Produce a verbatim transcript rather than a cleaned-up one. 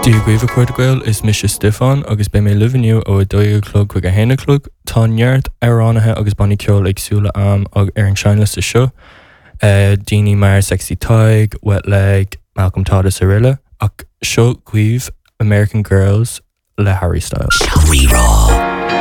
Dia dhaoibh a chairde Gael is mise Stiofán agus beidh mé libh inniu ó a dó a chlog chuig a haon a chlog. Tá neart amhránaithe agus bannaí ceoil éagsúla am ar an seinnliosta seo. Uh, daoine mar Sexy Tadhg, Wet Leg, Malcolm Todd is araile ach seo chugaibh American Girls le Harry Styles. Rí-Rá.